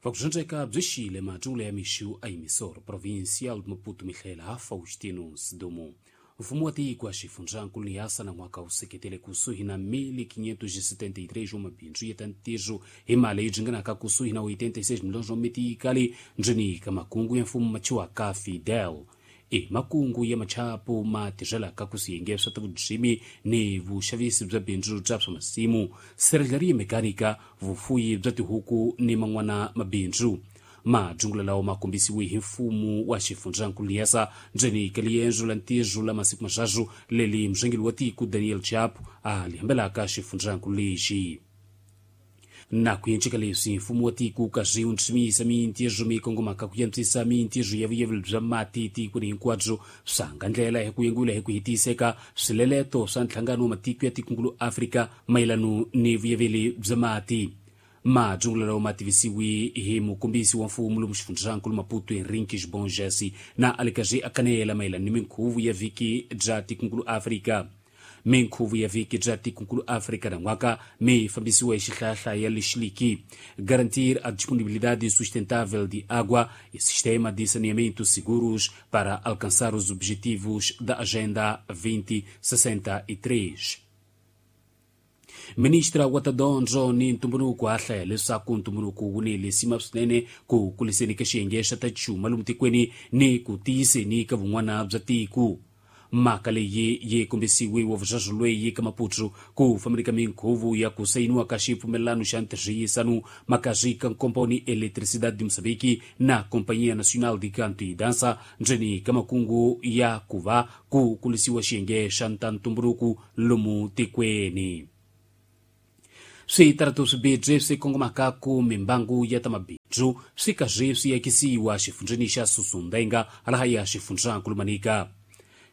Vakuxandzeka byi xile madyulo ya mixu a emissor provincial de Maputo mihlela Faustino Sidumo. Mfumo wa tiko wa xifundzankulu Niassa na n'waka wu seketele kusuhi na 1573 wa mabindzu ya ta ntirho hi mali leyi ringanaka kusuhi na 86 miliyoni wa mitikali ndzeni ka makungu ya mfumo machiwaka Fidel. I makungu ya machapu ma tirhelaka ku swiyenge swa ta vurimi ni vuxavisi bya bindzu bya swa masimu, sirheleriya mekanika, vufuyi bya tihuku ni man'wana mabindzu. Madyungula lawa ma kombisiwe hi mfumo wa xifundzankulu Niassa ndzeni ka liendzo la ntirho la masiku maxaxu leli murhangeri wa tiko Daniel Chapo a li hambelaka xifundzankulu lexi. Na ku yenceka leswi mfumo wa tiko kasi wu ntsumisa mintirho mi kongomaka ku antswisa mintirho ya vuyeveli bya mati tikweni hinkwabyo swa nga ndlela hi ku yengula hi ku hetiseka swileleto swa nhlangano wa matiko ya tikungulu Afrika mayelano ni vuyeveli bya mati. Madyungula lawa ma tivisiwi hi mukombisi wa mfumo lomu xifundzankulu Maputo Henrique Xibonjesi na a le karhi a kanela mayelana ni minkhuvo ya vhiki bya tikungulu Afrika. Minkhuvo ya vhiki bya tikungulu Afrika nan'waka mi fambisiwa hi xihlayahlaya lexiliki garantir a disponibilidade sustentável de água e sistema de saneamento seguros para alcançar os objetivos da Agenda 2063. Ministra wa ta dyondzo ni ntumbuluko a hlaya leswaku ntumbuluko wu ni lisima swinene ku kuliseni ka xiyenge xa ta chuma lomu tikweni ni ku tiyiseni ka vun'wana bya tiko. Mhaka leyi yi kombisiwe wa vuxaxo lweyi ka Maputo ku fambeni ka minkhuvo ya ku sayiniwa ka xipfumelelano xa ntirhisano makazwi ka nkomponi Eletricidade de Moçambique na Companhia Nacional de Canto e Dança ndzeni ka makungu ya ku va ku kulisiwa xiyenge xa ntumbuluko lomu tikweni. Switaratu swibirhi swi kongomaka ku mimbangu ya ta mabindzu swi karhi swi akisiwa xifundzheni xa Sussundenga laha ya xifundzankulu Manica.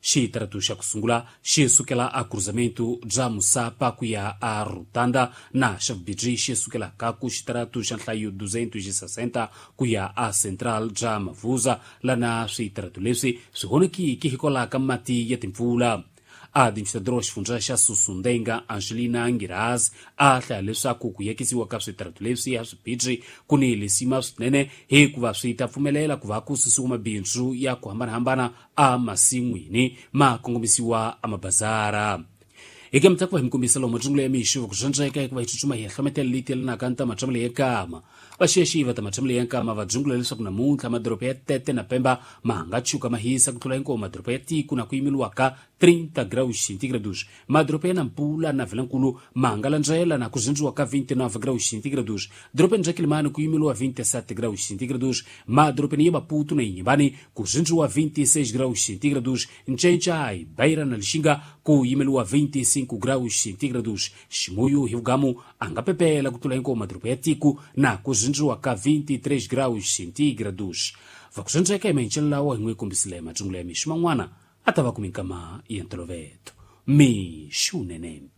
Xitaratu xa ku sungula xi sukela a cruzamento bya Musapa ku ya a Rutanda na xa vumbirhi xi sukelaka ku xitaratu xa nhlayo 260 ku ya a Central bya Mavuza lana switaratu leswi swi honekiki hikwalaho ka mati ya timpfula. Administrador wa xifundza xa Sussundenga Angelina Ngiraz a hlaya leswaku ku yakisiwa ka switaratu leswi ya swibirhi ku ni lisima swinene hikuva swi ta pfumelela ku va ku susiwa mabindzu ya ku hambanahambana emasin'wini ma kongomisiwa emabazara. Eka mitlaku va hi mikombisa lomu madyungulo ya mixo ku dyondzeka hikuva hi tsutsuma hi ya hlometela leyi yelanaka ni ta matshamo ya nkama. Vaxexi va ta matshamo ya nkama va dzungula leswaku namuntlha madoroba ya Tete na Pemba ma nga tshuka ma hisa ku tlula hinkwawo madoroba ya tiko na ku yimeliwaka 30 graus centígrados. Madoroba ya Nampula na Vilankulu ma nga landzela na ku zindziwa ka 29 graus centígrados. Dorobeni ra Kilimani ku yimeliwa 27 graus centígrados. Madorobeni ya Maputo na Inhambane ku zindziwa 26 graus centígrados. Ncencai, Beira na Lixinga ku yimeliwa 25 graus centígrados. Ximuyu hi vugamu a nga pepela ku tlula hinkwawo madoroba ya tiko na ku zindziwa ka 23 graus centígrados. Va ku zindzeka hi mahencelo lawa hi n'wi kombisile madyungulo ya mixo man'wana a ta va ku minkama ya ntolovelo. Mixo nene.